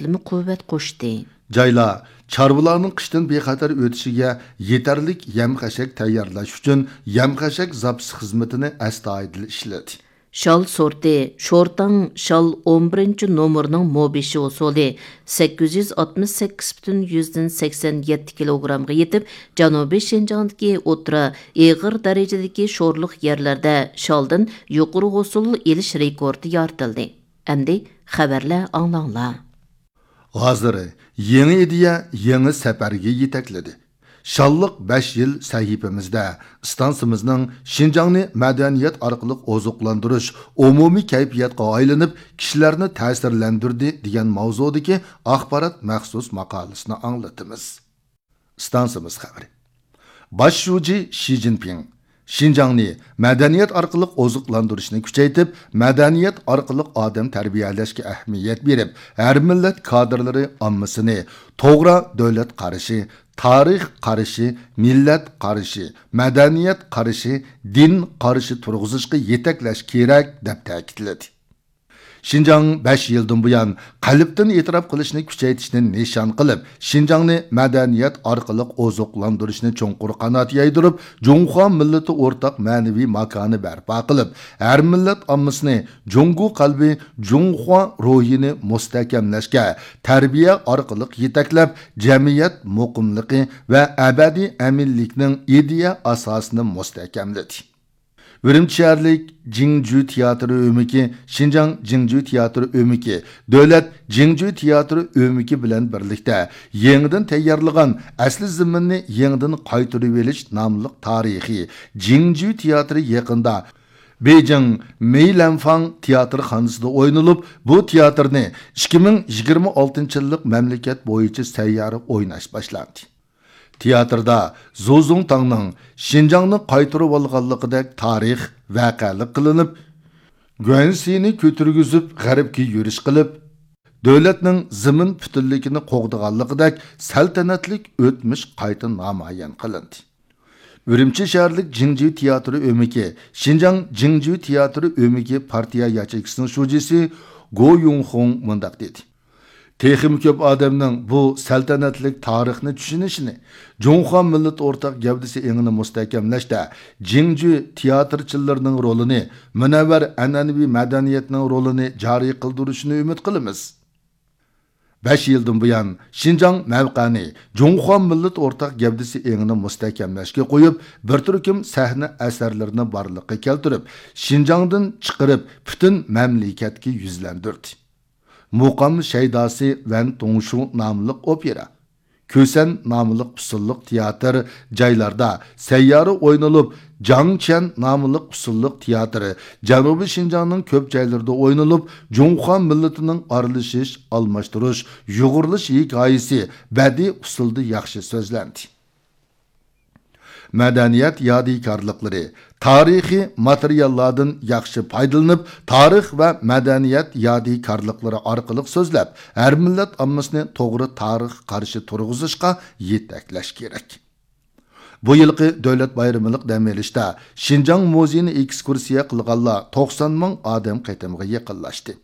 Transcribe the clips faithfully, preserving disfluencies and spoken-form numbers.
يەنىمۇ قۇۋۋەت قوشتى. جايلار چارۋىلارنىڭ قىشتىن بىخەتەر ئۆتۈشىگە يېتەرلىك يەم-خەشەك تەييارلاش ئۈچۈن يەم-خەشەك زاپىسى خىزمىتىنى ئەستايىدىل ئىشلىدى. شال سورتى شورتاڭ شال ئون بىرىنچى نومۇرنىڭ مو بېشى ھوسۇلى سەككىز يۈز ئاتمىش سەككىز پۈتۈن يۈزدىن سەكسەن يەتتە كىلوگرامغا يېتىپ، جەنۇبىي شىنجاڭدىكى ئوتتۇرا ئېغىر دەرىجىدىكى شورلۇق يەرلەردە شالدىن يۇقىرى ھوسۇل ئېلىش رېكورتى يارىتىلدى. ئەمدى خەۋەرلەر ئاڭلاڭلار. ھازىر يېڭى ئىدىيە يېڭى سەپەرگە يېتەكلىدى. شاللىق بەش يىل سەھىپىمىزدە ئىستانسىمىزنىڭ شىنجاڭنى مەدەنىيەت ئارقىلىق ئوزۇقلاندۇرۇش ئومۇمىي كەيپىياتقا ئايلىنىپ، كىشىلەرنى تەسىرلەندۈردى دېگەن ماۋزۇدىكى ئاخبارات مەخسۇس ماقالىسىنى ئاڭلىتىمىز. ئىستانسىمىز خەۋىرى. باش شۇجى شى جىنپىڭ شىنجاڭنى مەدەنىيەت ئارقىلىق ئوزۇقلاندۇرۇشنى كۈچەيتىپ، مەدەنىيەت ئارقىلىق ئادەم تەربىيەلەشكە ئەھمىيەت بېرىپ، ھەر مىللەت كادىرلىرى ئاممىسىنى توغرا دۆلەت قارىشى، تارىخ قارىشى، مىللەت قارىشى، مەدەنىيەت قارىشى، دىن قارىشى تۇرغۇزۇشقا يېتەكلەش كېرەك، دەپ تەكىتلىدى. شىنجاڭ بەش يىلدىن بۇيان قەلبتىن ئېتىراپ قىلىشنى كۈچەيتىشنى نىشان قىلىپ، شىنجاڭنى مەدەنىيەت ئارقىلىق ئوزۇقلاندۇرۇشنى چوڭقۇر قانات يايدۇرۇپ، جۇڭخۇا مىللىتى ئورتاق مەنىۋى ماكانى بەرپا قىلىپ، ھەر مىللەت ئاممىسىنى جۇڭگو قەلبى، جۇڭخۇا روھىنى مۇستەھكەملەشكە، تەربىيە ئارقىلىق يېتەكلەپ، جەمئىيەت مۇقىملىقى ۋە ئەبەدىي ئەمىنلىكنىڭ ئىدىيە ئاساسىنى مۇستەھكەملىدى. ئۈرۈمچى شەھەرلىك جىڭجۈ تىياتىرى ئۆمىكى، شىنجاڭ جىڭجۈ تىياتىرى ئۆمىكى، دۆلەت جىڭجۈ تىياتىرى ئۆمىكى بىلەن بىرلىكتە يېڭىدىن تەييارلىغان ئەسلى زېمىننى يېڭىدىن قايتۇرۇۋېلىش ناملىق تارىخىي جىڭجۈ تىياتىرى يېقىندا بېيجىڭ مېيلەنفاڭ تىياتىرخانىسىدا ئوينىلىپ، بۇ تىياتىرنى ئىككى مىڭ يىگىرمە ئالتىنچى يىللىق مەملىكەت بويىچە سەييارە ئويناش باشلاندى. تىياتىردا زۇزۇڭتاڭنىڭ شىنجاڭنى قايتۇرۇۋالغانلىقىدەك تارىخ ۋەقەلىك قىلىنىپ، گۇەنسىنى كۆتۈرگۈزۈپ غەربكە يۈرۈش قىلىپ، دۆلەتنىڭ زېمىن پۈتۈنلۈكىنى قوغدىغانلىقىدەك سەلتەنەتلىك ئۆتمۈش قايتا نامايان قىلىندى. ئۈرۈمچى شەھەرلىك جىڭجۈ تىياتىرى ئۆمىكى، شىنجاڭ جىڭجۈ تىياتىرى ئۆمىكى پارتىيە ياچېيكىسىنىڭ شۇجىسى گو يۇڭخۇڭ مۇنداق دېدى. تېخىمۇ كۆپ ئادەمنىڭ بۇ سەلتەنەتلىك تارىخنى چۈشىنىشىنى، جۇڭخۇا مىللىتى ئورتاق گەۋدىسى ئېڭىنى مۇستەھكەملەشتە جىڭجۈ تىياتىرچىلىرىنىڭ رولىنى، مۇنەۋۋەر ئەنئەنىۋى مەدەنىيەتنىڭ رولىنى جارى قىلدۇرۇشىنى ئۈمىد قىلىمىز. بەش يىلدىن بۇيان، شىنجاڭ مەۋقەنى جۇڭخۇا مىللىتى ئورتاق گەۋدىسى ئېڭىنى مۇستەھكەملەشكە قويۇپ، بىر تۈركۈم سەھنە ئەسەرلىرىنى بارلىققا كەلتۈرۈپ، شىنجاڭدىن چىقىرىپ، پۈتۈن مەملىكەتكە يۈزلەندۈردى. مۇقام شەيداسى ۋەن تۇڭشۇ ناملىق ئوپېرا، كۈسەن ناملىق پىسىللىق تىياتىر جايلاردا سەييارە ئوينىلىپ، جاڭچيەن ناملىق پىسىللىق تىياتىرى جەنۇبىي شىنجاڭنىڭ كۆپ جايلىرىدا ئوينىلىپ، جۇڭخۇا مىللىتىنىڭ ئارىلىشىش، ئالماشتۇرۇش، يۇغۇرۇلۇش ھېكايىسى بەدىئىي ئۇسۇلدا ياخشى سۆزلەندى. مەدەنىيەت يادىكارلىقلىرى، تارىخىي ماتېرىياللاردىن ياخشى پايدىلىنىپ، تارىخ ۋە مەدەنىيەت يادىكارلىقلىرى ئارقىلىق سۆزلەپ، ھەر مىللەت ئاممىسىنى توغرا تارىخ قارىشى تۇرغۇزۇشقا يېتەكلەش كېرەك. بۇ يىلقى دۆلەت بايرىملىق دەم ئېلىشتا شىنجاڭ مۇزېيىنى ئېكسكۇرسىيە قىلغانلار توقسان مىڭ ئادەم قېتىمغا يېقىنلاشتى.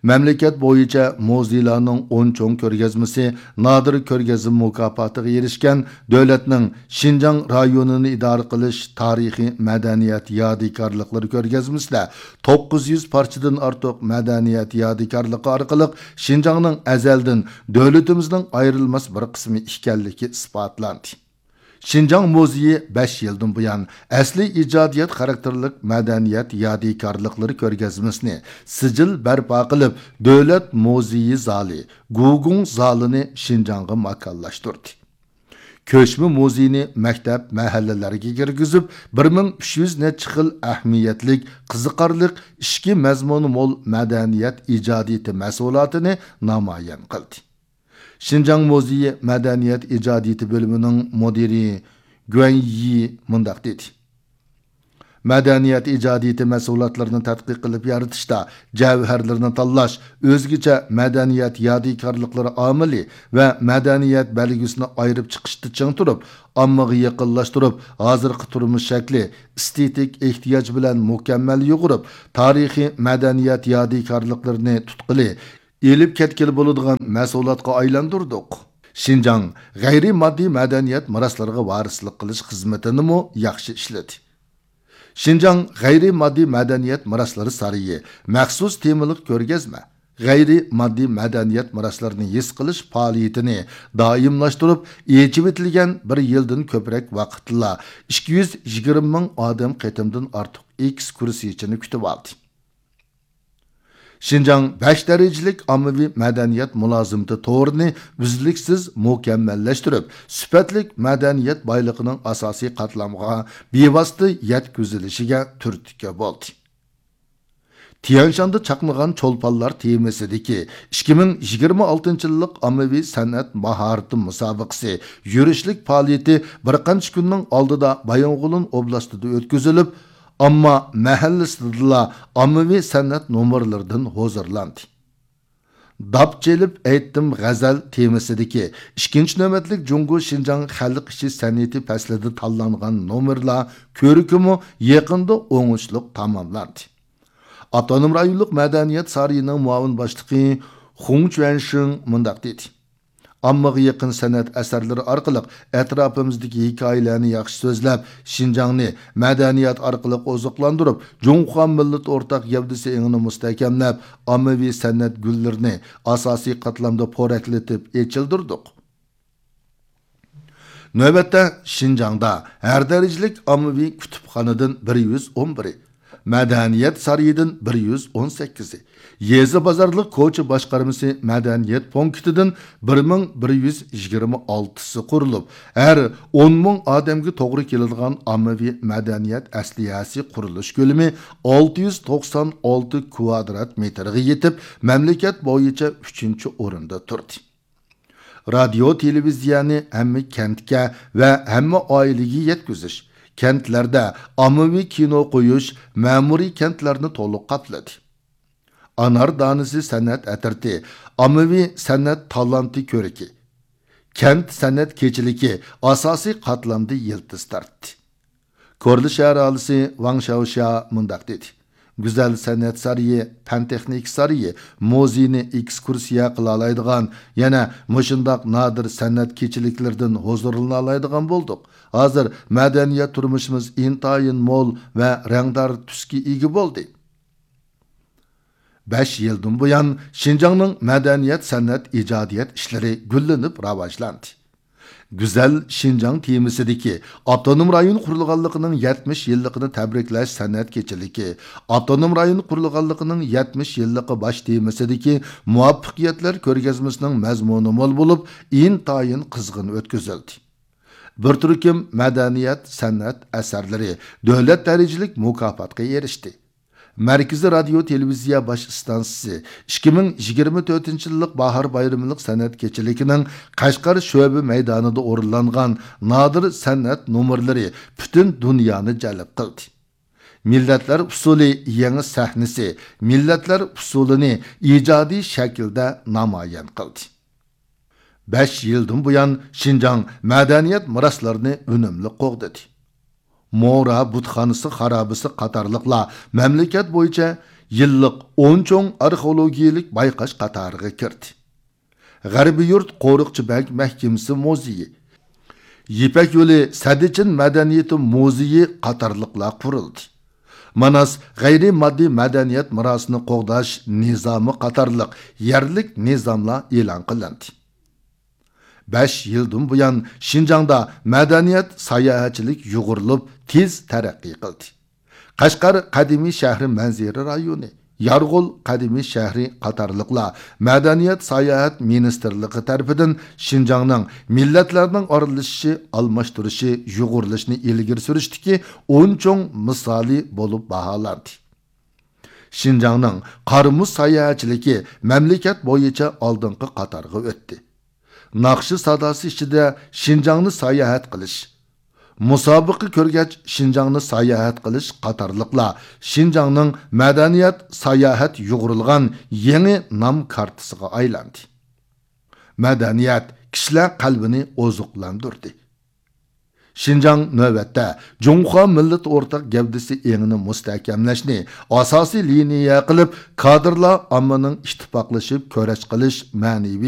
مەملىكەت بويىچە مۇزېيلارنىڭ ئون چوڭ كۆرگەزمىسى نادىر كۆرگەزمە مۇكاپاتىغا ئېرىشكەن دۆلەتنىڭ شىنجاڭ رايونىنى ئىدارە قىلىش تارىخىي مەدەنىيەت يادىكارلىقلىرى كۆرگەزمىسىدە توققۇز يۈز پارچىدىن ئارتۇق مەدەنىيەت يادىكارلىقى ئارقىلىق شىنجاڭنىڭ ئەزەلدىن دۆلىتىمىزنىڭ ئايرىلماس بىر قىسمى ئىكەنلىكى ئىسپاتلاندى. شىنجاڭ مۇزېيى بەش يىلدىن بۇيان ئەسلىي ئىجادىيەت خاراكتېرلىك مەدەنىيەت يادىكارلىقلىرى كۆرگەزمىسىنى سىجىل بەرپا قىلىپ، دۆلەت مۇزېيى زالى، گۇگۇڭ زالىنى شىنجاڭغا ماكانلاشتۇردى. كۆچمە مۇزېينى مەكتەپ، مەھەللىلەرگە كىرگۈزۈپ، بىر مىڭ ئۈچ يۈز نەچچە خىل ئەھمىيەتلىك، قىزىقارلىق، ئىچكى مەزمۇنى مول مەدەنىيەت ئىجادىيىتى مەھسۇلاتىنى نامايان قىلدى. شىنجاڭ مۇزېيى مەدەنىيەت ئىجادىيىتى بۆلۈمىنىڭ مۇدىرى گۇەن يى مۇنداق دېدى: مەدەنىيەت ئىجادىيىتى مەھسۇلاتلىرىنى تەتقىق قىلىپ يارىتىشتا، جەۋھەرلىرىنى تاللاش، ئۆزگىچە مەدەنىيەت يادىكارلىقلىرى ئامىلى ۋە مەدەنىيەت بەلگىسىنى ئايرىپ چىقىشتا چىڭ تۇرۇپ، ئاممىغا يېقىنلاشتۇرۇپ، ھازىرقى تۇرمۇش شەكلى، ئېستېتىك ئېھتىياج بىلەن مۇكەممەل يۇغۇرۇپ، تارىخىي مەدەنىيەت يادىكارلىقلىرىنى تۇتقىلى، ئېلىپ كەتكىلى بولىدىغان مەھسۇلاتقا ئايلاندۇردۇق. شىنجاڭ غەيرىي ماددىي مەدەنىيەت مىراسلىرىغا ۋارىسلىق قىلىش خىزمىتىنىمۇ ياخشى ئىشلىدى. شىنجاڭ غەيرىي ماددىي مەدەنىيەت مىراسلىرى سارىيى مەخسۇس تېمىلىق كۆرگەزمە، غەيرىي ماددىي مەدەنىيەت مىراسلىرىنى ھېس قىلىش پائالىيىتىنى دائىملاشتۇرۇپ، ئېچىۋېتىلگەن بىر يىلدىن كۆپرەك ۋاقىتتىلا ئىككى يۈز يىگىرمە مىڭ ئادەم قېتىمدىن ئارتۇق ئېكسكۇرسىيىچىنى كۈتۈۋالدى. شىنجاڭ بەش دەرىجىلىك ئاممىۋى مەدەنىيەت مۇلازىمىتى تورىنى ئۈزلۈكسىز مۇكەممەللەشتۈرۈپ، سۈپەتلىك مەدەنىيەت بايلىقىنىڭ ئاساسىي قاتلامغا بىۋاسىتە يەتكۈزۈلۈشىگە تۈرتكە بولدى. تيەنشاندا چاقنىغان چولپانلار تېمىسىدىكى ئىككى مىڭ يىگىرمە ئالتىنچى يىللىق ئاممىۋى سەنئەت ماھارىتى مۇسابىقىسى يۈرۈشلۈك پائالىيىتى بىر قانچە كۈننىڭ ئالدىدا بايىنغولىن ئوبلاستىدا ئۆتكۈزۈلۈپ، ئامما مەھەللىسىدىلا ئاممىۋى سەنئەت نومۇرلىرىدىن ھۇزۇرلاندى. داپ چېلىپ ئېيتتىم غەزەل تېمىسىدىكى ئىككىنچى نۆۋەتلىك جۇڭگو شىنجاڭ خەلق ئىچى سەنئىتى پەسلىدە تاللانغان نومۇرلار كۆركىمۇ يېقىندا ئوڭۇشلۇق تاماملاندى. ئاپتونوم رايونلۇق مەدەنىيەت سارىيىنىڭ مۇئاۋىن باشلىقى خۇڭ چۈەنشىڭ مۇنداق دېدى: ئاممىغا يېقىن سەنئەت ئەسەرلىرى ئارقىلىق ئەتراپىمىزدىكى ھېكايىلەرنى ياخشى سۆزلەپ، شىنجاڭنى مەدەنىيەت ئارقىلىق ئوزۇقلاندۇرۇپ، جۇڭخۇا مىللىتى ئورتاق گەۋدىسى ئېڭىنى مۇستەھكەملەپ، ئاممىۋى سەنئەت گۈللىرىنى ئاساسىي قاتلامدا پورەكلىتىپ ئېچىلدۇردۇق. نۆۋەتتە شىنجاڭدا ھەر دەرىجىلىك ئاممىۋى كۇتۇپخانىدىن بىر يۈز ئون بىرى، مەدەنىيەت سارىيىدىن بىر يۈز ئون سەككىزى، يېزا بازارلىق كوچا باشقارمىسى مەدەنىيەت پونكىتىدىن بىر مىڭ بىر يۈز يىگىرمە ئالتىسى قۇرۇلۇپ، ھەر ئون مىڭ ئادەمگە توغرا كېلىدىغان ئاممىۋى مەدەنىيەت ئەسلىھەسى قۇرۇلۇش كۆلىمى ئالتە يۈز توقسان ئالتە كۋادرات مېتىرغا يېتىپ، مەملىكەت بويىچە ئۈچىنچى ئورۇندا تۇردى. رادىيو، تېلېۋىزىيەنى ھەممە كەنتكە ۋە ھەممە ئائىلىگە يەتكۈزۈش، كەنتلەردە ئاممىۋى كىنو قويۇش مەمۇرىي كەنتلەرنى تولۇق قاپلىدى. ئانار دانىسى سەنئەت ئەترىتى ئاممىۋى سەنئەت تالانتى كۆرىكى، كەنت سەنئەت كېچىلىكى ئاساسىي قاتلامدا يىلتىز تارتتى. كورلا شەھەر ئاھالىسى ۋاڭ شياۋشيا مۇنداق دېدى: گۈزەل سەنئەت سارىيى، پەن تېخنىكا سارىيى، مۇزېينى ئېكسكۇرسىيە قىلالايدىغان، يەنە مۇشۇنداق نادىر سەنئەت كېچىلىكلىرىدىن ھۇزۇرلىنالايدىغان بولدۇق. ھازىر مەدەنىيەت تۇرمۇشىمىز ئىنتايىن مول ۋە رەڭدار تۈسكە ئىگە بولدى. بەش يىلدىن بۇيان، شىنجاڭنىڭ مەدەنىيەت، سەنئەت، ئىجادىيەت ئىشلىرى گۈللىنىپ راۋاجلاندى. گۈزەل شىنجاڭ تېمىسىدىكى ئاپتونوم رايون قۇرۇلغانلىقىنىڭ يەتمىش يىللىقىنى تەبرىكلەش سەنئەت كېچىلىكى، ئاپتونوم رايون قۇرۇلغانلىقىنىڭ يەتمىش يىللىقى باش تېمىسىدىكى مۇۋەپپەقىيەتلەر كۆرگەزمىسىنىڭ مەزمۇنى مول بولۇپ، ئىنتايىن قىزغىن ئۆتكۈزۈلدى. بىر تۈركۈم مەدەنىيەت، سەنئەت ئەسەرلىرى دۆلەت دەرىجىلىك مۇكاپاتقا ئېرىشتى. مەركىزىي رادىيو تېلېۋىزىيە باش ئىستانسىسى ئىككى مىڭ يىگىرمە تۆتىنچى يىللىق باھار بايرىملىق سەنئەت كېچىلىكىنىڭ قەشقەر شۆبە مەيدانىدا ئورۇنلانغان نادىر سەنئەت نومۇرلىرى پۈتۈن دۇنيانى جەلپ قىلدى. مىللەتلەر ئۇسسۇلى يېڭى سەھنىسى مىللەتلەر ئۇسسۇلىنى ئىجادىي شەكىلدە نامايان قىلدى. بەش يىلدىن بۇيان، شىنجاڭ مەدەنىيەت مىراسلىرىنى ئۈنۈملۈك قوغدىدى. مورا بۇتخانىسى خارابىسى قاتارلىقلار مەملىكەت بويىچە يىللىق ئون چوڭ ئارخېئولوگىيەلىك بايقاش قاتارىغا كىردى. غەربىي يۇرت قورۇقچى بەگ مەھكىمىسى مۇزېيى، يىپەك يولى سەددىچىن مەدەنىيىتى مۇزېيى قاتارلىقلار قۇرۇلدى. ماناس غەيرىي ماددىي مەدەنىيەت مىراسىنى قوغداش نىزامى قاتارلىق يەرلىك نىزاملار ئېلان قىلىندى. بەش يىلدىن بۇيان، شىنجاڭدا مەدەنىيەت ساياھەتچىلىك يۇغۇرۇلۇپ، تېز تەرەققىي قىلدى. قەشقەر قەدىمىي شەھىرى مەنزىرە رايونى، يارغول قەدىمىي شەھىرى قاتارلىقلار مەدەنىيەت ساياھەت مىنىستىرلىقى تەرىپىدىن شىنجاڭنىڭ مىللەتلەرنىڭ ئارىلىشىشى، ئالماشتۇرۇشى، يۇغۇرۇلۇشىنى ئىلگىرى سۈرۈشتىكى ئون چوڭ مىسالى بولۇپ باھالاندى. شىنجاڭنىڭ قار مۇز ساياھەتچىلىكى مەملىكەت بويىچە ئالدىنقى قاتارغا ئۆتتى. ناخشا ساداسى ئىچىدە شىنجاڭنى ساياھەت قىلىش، مۇسابىقە كۆرگەچ شىنجاڭنى ساياھەت قىلىش قاتارلىقلار شىنجاڭنىڭ مەدەنىيەت ساياھەت يۇغۇرۇلغان يېڭى نام كارتىسىغا ئايلاندى. مەدەنىيەت كىشىلەر قەلبىنى ئوزۇقلاندۇردى. شىنجاڭ نۆۋەتتە جۇڭخۇا مىللىتى ئورتاق گەۋدىسى ئېڭىنى مۇستەھكەملەشنى ئاساسىي لىنىيە قىلىپ، كادىرلار ئاممىنىڭ ئىتتىپاقلىشىپ كۈرەش قىلىش مەنىۋى